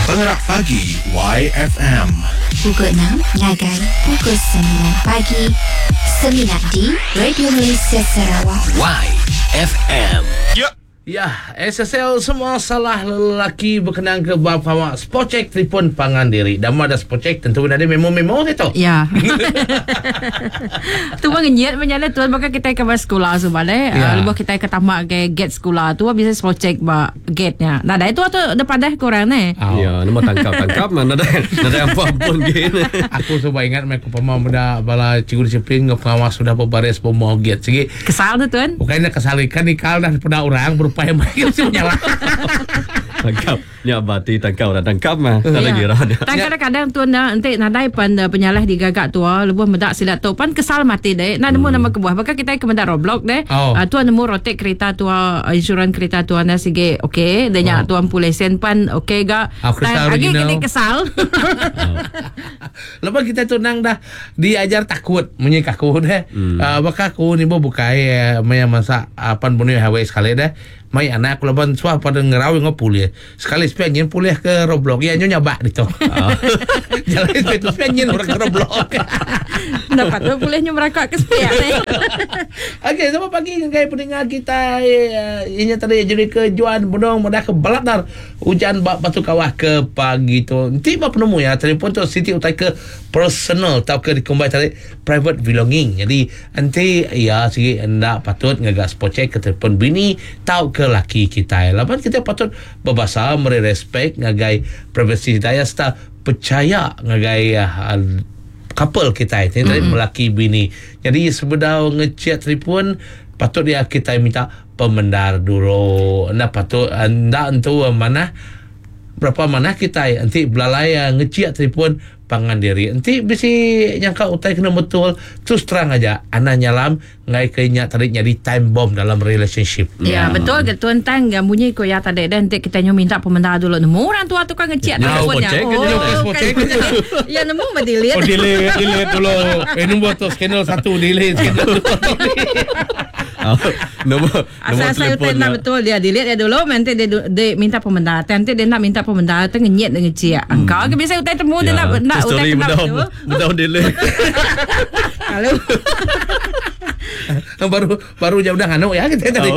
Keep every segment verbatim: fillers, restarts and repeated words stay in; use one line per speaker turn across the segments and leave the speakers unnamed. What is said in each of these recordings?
Pengerak Pagi Y F M.
Pukul enam ngagai pukul sembilan pagi. Semina di Radio Malaysia Sarawak.
Y F M.
Ya.
Ya, S S L semua salah lelaki berkenaan ke bab awak spot check telefon pangan diri. Dama ada spot check tentu ada memo-memo tu.
Ya. Tu bang ngenyet menyala tuan bakal kita ke sekolah sebab eh.
Ya.
Lebuh kita ke tamak ke gate sekolah tu bisa spot check ba gate-nya. Nah, dah itu tu depan dah korang ni.
Oh.
Ya, nama tangkap-tangkap mana dah. Ada apa-apa gini.
Aku cuba ingat mereka pemau muda bala cikgu disiplin pengawas sudah berbaris pemau gate. Segi
kesal tu tuan.
Bukannya kesal ikan ikal dah pada orang berupa yang baik mesti menyala.
Tangkap. Ya bati tangkap dah tangkap mah. Tak lagi rah dia.
Tang kadang-kadang tuan dah entik nadai pan penyalah digagak tua lebuh medak silat tu pan kesal mati deh. Nak nemu nama kebuah. Bahkan kita ke medak Roblox deh.
Oh.
Uh, tuan nemu rotek kereta tua insurans kereta tua na sige okey dia nyak
oh.
tuan pulesen pan okey ga.
Oh,
Tang agi kini kesal.
Oh. Lepas kita tu nang dah diajar takut munyi kaku deh. Hmm. Uh, bakal aku ni bo bukai maya masa pan bunuh highway sekali deh. Mai anak aku laban suah pada ngerawi ngopulih. Sekali sepian pulih ke Roblox ya nyonya bak dito. Jalan itu sepian orang ke Roblox.
Dapat tu pulihnya mereka ke sepian.
Okey, selamat pagi dengan pendengar kita. Ini tadi jadi ke Juan Bodong mudah ke Baladar. Hujan bak batu kawah ke pagi tu. Nanti bak penemu ya telefon tu Siti utai ke personal tau ke dikumbai tadi private belonging. Jadi nanti ya sigi hendak patut ngagas pocek ke telefon bini tau ke laki kita. Laban kita patut berbahasa meri respect ngagai privasi daya serta percaya ngagai uh, couple kita ini mm-hmm. melaki bini. Jadi sebedau ngecek telefon patut dia kita minta pemendar dulu. Anda patut anda entu mana berapa mana kita nanti belalai ngecek telefon pangan diri. Nanti bisi nyangka utai kena betul terus terang aja ana nyalam ngai kenya tadi jadi time bomb dalam relationship.
Ya, ya betul ke tuan tang ga bunyi ko ya tadi dan nanti kita nyu minta pemendar dulu nemu orang tua tu kan ngecek telefonnya.
Oh,
ya nemu mah delete.
Oh delete delete dulu. Eh nombor tu skandal satu delete skandal dua.
Nombor
asal saya tak betul dia delete dia dulu nanti dia, dia minta pemendar. Nanti dia nak minta pemendar tu ngenyet dengan ngecek. Engkau ke biasa utai temu dia nak nak utai kena betul.
Betul delete.
Halo.
Baru baru jauh dah nganu ya kita tadi.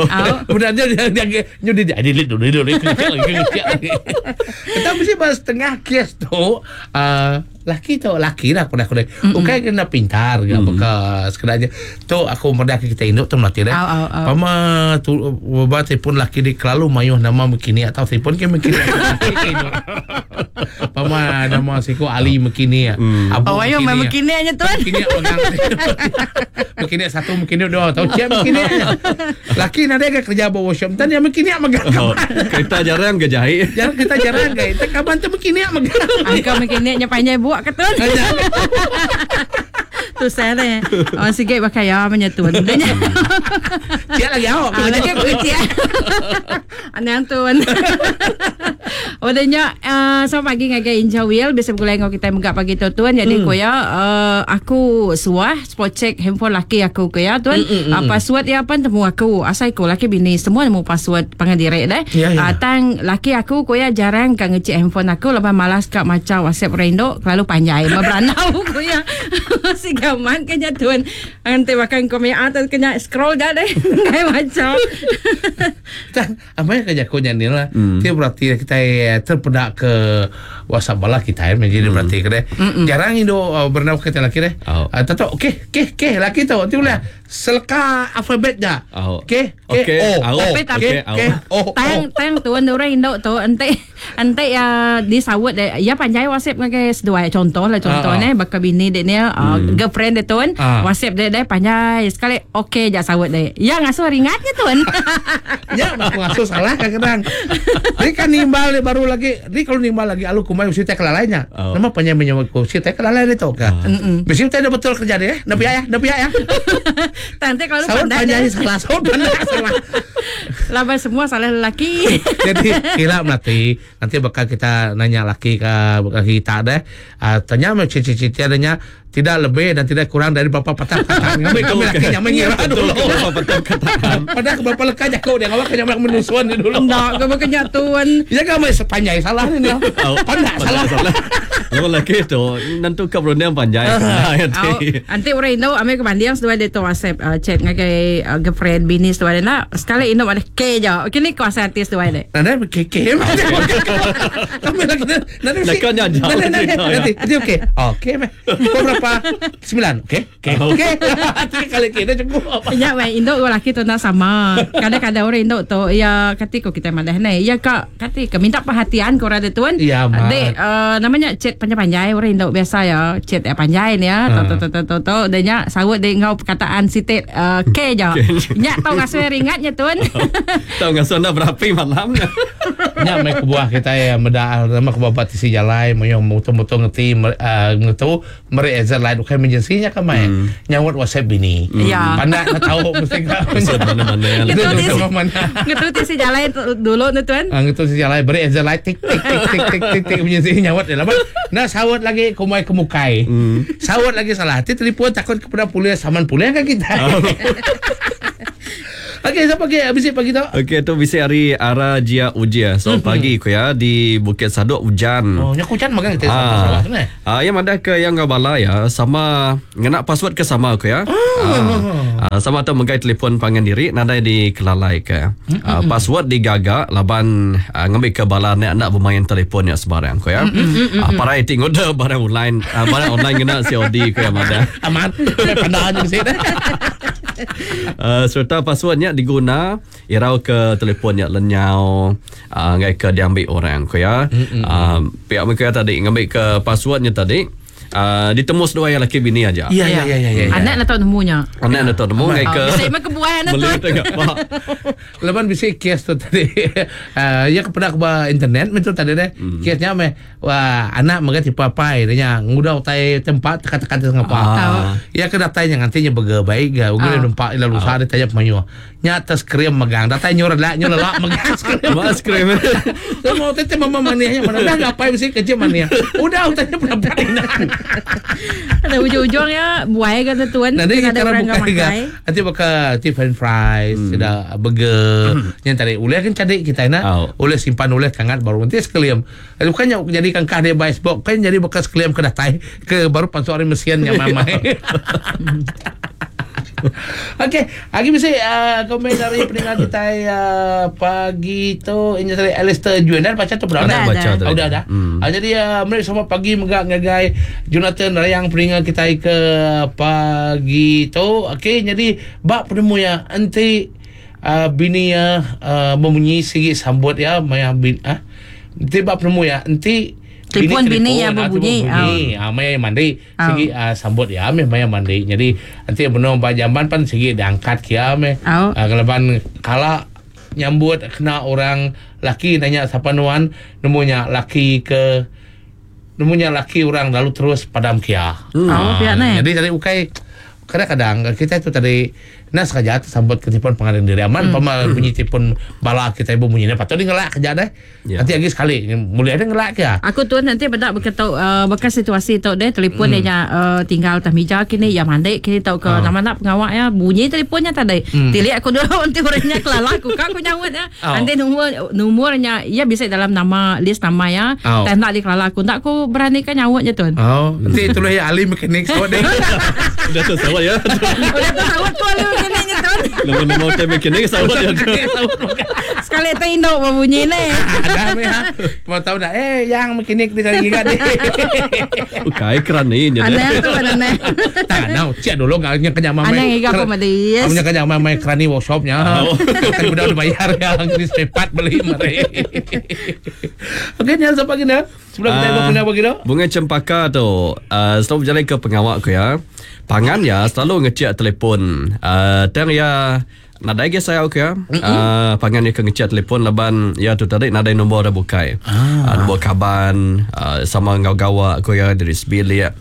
Udah dia dia dia dia delete dulu dulu ngecek lagi. Kita mesti bahas setengah kes tu laki tu laki lah aku dah aku dah. Bukan kena pintar ke apa ke sekedarnya. Tu aku mudah kita induk tu melatih dah. Pama tu buat telefon laki di kelalu mayuh nama mekini atau telefon ke mekini. Pama nama siku Ali mekini.
Abu oh ayo mekini aja tuan.
Mekini pegang. Mekini satu mekini dua tahu cia mekini. Laki nade ke kerja bawa workshop tan yang mekini megang.
Kereta jarang ke jahit.
Jarang kereta jarang ke. Kapan tu mekini megang.
Angka mekini nya panjai buat ketun. Tu saya ni. Oh sikit pakai ya menyetun.
Cia lagi awak.
Ah lagi aku cia. Anang tuan. Odanya uh, selamat pagi ngagai Inja Will biasa bergulai dengan kita megak pagi tu tuan. Jadi mm. koya uh, aku suah spot check handphone laki aku koya tuan. Mm, mm, mm. Uh, password ya pan temu aku. Asai ko laki bini semua nemu password pangan direk deh.
Ya, ya.
Uh, tang laki aku koya jarang kan ngecek handphone aku lepas malas kak macam WhatsApp rendo terlalu panjai meberanau koya. Sigaman kenya tuan. Nanti makan komen atas kena scroll dah deh. Kayak macam.
Tang apa yang kerja ko nyanyi lah. Dia berarti kita terpedak ke WhatsApp bala kita ya menjadi hmm. berarti kena jarang indo uh, bernau kita laki deh.
Oh.
Uh, tahu okey okey okey laki tu tu lah selka alfabetnya. Okey
okey
O
tapi tapi
O
tang tang tuan orang indo tu ente ente ya disawut ya panjai WhatsApp ngagai seduai contoh lah contoh ne bakal bini dek ni girlfriend dia tuan WhatsApp dia deh panjai sekali okey jak sawut deh. Ya ngasuh ringatnya tuan.
Ya aku ngasuh salah kadang-kadang. Ni kan nimbal baru lagi ni kalau nimbal lagi alu kumai mesti tak kelalainya.
Oh.
Nama panjang menyawa ku si tak kelalai dia tahu ke.
Oh.
Mesti tak betul kerja dia. Nabi ayah, nabi ayah.
Nanti kalau
Saut
pandai
panjai salah, saut pandai salah.
Laban semua salah lelaki.
Jadi kira nanti nanti bakal kita nanya laki ke kita deh. Uh, tanya macam ciri-ciri adanya tidak lebih dan tidak kurang dari berapa patah kata. Kami kami laki nyaman ngira dulu.
Berapa patah kataan.
Padahal berapa leka jago dia ngawak nyaman menusuan dia dulu.
Enggak, kau bukan nyatuan.
Ya kami sepanjang salah ni. Pandai salah.
Salah. Lawan lelaki tu nanti kau berunding panjai.
Nanti. Nanti orang Indo ambil ke banding seduai dia tu WhatsApp uh, chat ngagai uh, girlfriend bini seduai dia nak sekali Indo ada K je. Okey ni kuasa hati seduai dia.
Nanti K K. Kami lagi nanti
Leka nya jauh
Nanti nanti
cerita, ya.
nanti nanti okey. Okey meh. Kau berapa? Sembilan. Okey. Okey. Okey. Tiga kali K dah cukup.
Ya, weh, Indo dengan lelaki tu nak sama. Kadang-kadang orang Indo tu ya kati ko kita madah ni. Ya kak, kati ke minta perhatian kau ada tuan.
Ya, mat.
Dek, uh, namanya chat panjang-panjang orang Indo biasa ya, chat ya panjang ni ya. Tu tu tu tu tu dia nya sawut dia ngau perkataan sitit uh, K je. Nya tau ngasuh ringatnya tuan.
Tahu ngasuh anda berapi malamnya.
Nya mai kebuah kita ya meda nama kebuah tisi jalai moyo mutu-mutu ngeti ngetu meri ezar lain bukan emergency nya kamai. Nyawat WhatsApp bini.
Ya.
Pandai nak tahu mesti kau.
Maksud mana-mana yang
Gitu
Betul,
di
betul, mana.
Ngetu tisi jalai dulu ni tuan.
Ah, ngetu tisi jalai beri ezar lain tik tik tik tik tik tik tik emergency nyawat dia lama. Nah sawat lagi kumai kemukai. Sawat lagi salah. Hati telefon takut kepada polis saman polis kan kita. Okey, siapa pagi habis pagi tu?
Okey, tu bisi hari Ara Jia Ujia. So mm-hmm. pagi ku ya di Bukit Sadok hujan.
Oh, nya hujan makan kita
Ah,
salah tu ni.
ah, yang ada ke yang ngau bala ya sama ngena password ke sama aku ya. Ah, ah, sama tu megai telefon pangan diri nadai di kelalai ke. Ah, password digaga laban ah, ngambil ke bala nak nak bermain telefon ya sebarang aku ya. Ah, parai tengok dah barang online ah, barang online ngena C O D ku ya mada.
Aman. Pandai aja mesti dah.
Uh, serta passwordnya diguna irau ke telefonnya lenyau uh, ngai ke diambil orang ko ya. Uh, pihak mereka tadi ngambil ke passwordnya tadi uh, ditemu sedua yang laki bini aja.
Ya ya ya ya ya.
Anak nak tahu nemunya.
Anak nak tahu nemu ngai ke.
Oh, bisa mah kebuah anak
Beli
tu.
tengok pak.
Lepas bisa kes tu tadi. Uh, ya kepada ke internet betul tadi deh.
Hmm.
Kesnya meh wah anak mereka tipe apa dia ngudah utai tempat tekan-tekan ngapa.
Ah.
Ya ke datanya nantinya bege baik ga. Udah
Ah.
nampak ila lusa dia tanya pemayu. Nya atas krim megang. Datai nyur lah nyur lelak megang skrim.
Mas krim.
Saya mau tete mama manianya mana dah ngapain mesti kerja mania. Udah utanya berapa ini.
Ada ujung-ujung ya buai kan tuan.
Nanti
Ada
kita
orang
buka
nggak
juga.
makai.
Nanti bakal nanti french fries, hmm. sudah burger. Yang tadi uleh kan cadik kita nak.
Oh.
Uleh simpan uleh kangat baru nanti sekalian. Eh, bukannya jadi kangkah dia buy box, kan jadi bekas sekalian ke datai ke baru pansu hari mesin yang mamai. Okey, hari mesti uh, komen dari pendengar kita uh, pagi tu ini tadi Alistair Juan dan baca tu pernah
Ada
Dah,
baca
dah.
tadi.
Oh, udah dah.
Hmm.
Ah, jadi uh, mereka selamat pagi megak ngagai Jonathan Rayang pendengar kita ke pagi tu. Okey, jadi bab penemu ya enti uh, bini ya uh, memunyi sigi sambut ya maya bin ah. Enti bab penemu ya enti
Telefon bini ya
ah,
berbunyi.
telefon bunyi. Ah, maya mandi
Ah.
sigi uh, sambut ya meh maya mandi. Jadi enti benong ba jamban pan sigi diangkat kia meh.
Ah.
Ah, keleban kala nyambut kena orang laki nanya siapa nuan nemunya laki ke nemunya laki orang lalu terus padam kia.
Hmm. Oh, pihak ni.
Jadi tadi ukai kadang-kadang kita itu tadi nak sengaja sambut ke telefon pengadil diri aman hmm. pama bunyi telefon bala kita ibu bunyi patut dia ngelak kerja deh.
Ya.
Nanti lagi sekali mulai ada ngelak ke.
Aku tuan nanti bedak berkata uh, bekas situasi tu deh telefon hmm. dia uh, tinggal atas meja kini ya mandi kini tau ke
Ah.
nama nak pengawak ya bunyi telefonnya tadi. Hmm. Tilik aku dulu nanti orangnya kelala aku kan aku nyawut ya.
Oh.
Nanti nomor nomornya ya bisa dalam nama list nama ya.
Oh.
Tak nak dikelala aku tak aku beranikan nyawutnya tuan.
Oh, nanti tulis ya ahli mekanik so deh.
Udah tu sawat ya.
Udah tu sawut ku ahli mekaniknya tuan.
Nombor-nombor hotel mekanik sawat ya.
Sekali tu induk berbunyi ni.
Ada meh ha. Mau tahu dah eh yang mekanik dia cari kan.
Ukai keran ni je.
Aneh tu aneh.
Tak nak cek dulu enggak nya kenyang mamai.
Aneh ngiga aku madi.
Kamu kenyang mamai kerani workshopnya.
Oh.
Kan udah dibayar ya di sepat beli mari. Okey, ni siapa pagi ni? Sebelum kita
Ah,
uh, pagi tu.
Bunga cempaka tu uh, selalu berjalan ke pengawak ku ya. Pangan ya selalu ngecek telefon. Uh, tang ya nadai ge saya ku ya. Uh, pangan ya ke ngecek telefon laban ya tu tadi nadai nombor dah bukai. Ah. Uh, nombor kaban uh, sama ngau gawak ku ya dari sebilik.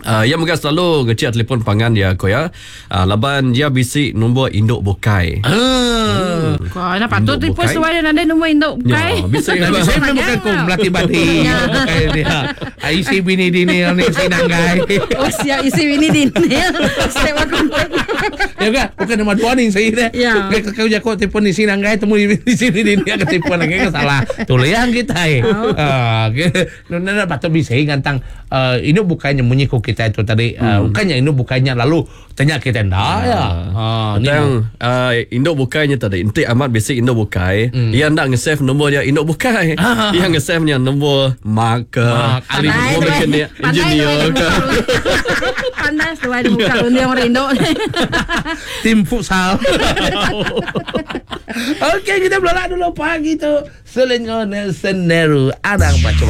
Uh, ia mega selalu ngecek telefon pangan dia ko ya. Uh, laban dia bisi nombor induk bukai.
Ah.
Kau nak patut
Induk
telefon
bukai.
suai dia ada nombor induk bukai.
Ya, bisa
Nah, bisa memang bukan ku melatih badi. Bukan dia. Ah, Isi bini dini ni si nanggai.
Oh siap isi ini din. Step aku.
Ya kan? Bukan nama dua ni saya dah.
Ya.
Kau kau jakok telefon di sini nanggai temu di di sini dini ke telefon lagi kan salah. Tuliang kita eh. Ah, ke. Nuna patut bisa ngantang eh, ini bukannya munyi ko kita itu tadi. Eh, bukannya ini bukannya lalu tanya kita ndak ya. Ah, ni
Tentang uh, induk bukainya tadi. Enti amat basic induk bukai. Mm. Ia nak nge-save nombor dia induk bukai.
Ah.
Ia nge-save nya nombor Mark ke.
Mark, Ali
Pandai
Nombor
tu, eh.
mekanik,
Pandai
engineer
tu, eh,
ke.
Pandai seduai dia buka runding orang induk.
tim futsal. Okey, kita berlolak dulu pagi tu. Selengo Nelson Nehru. Anang baca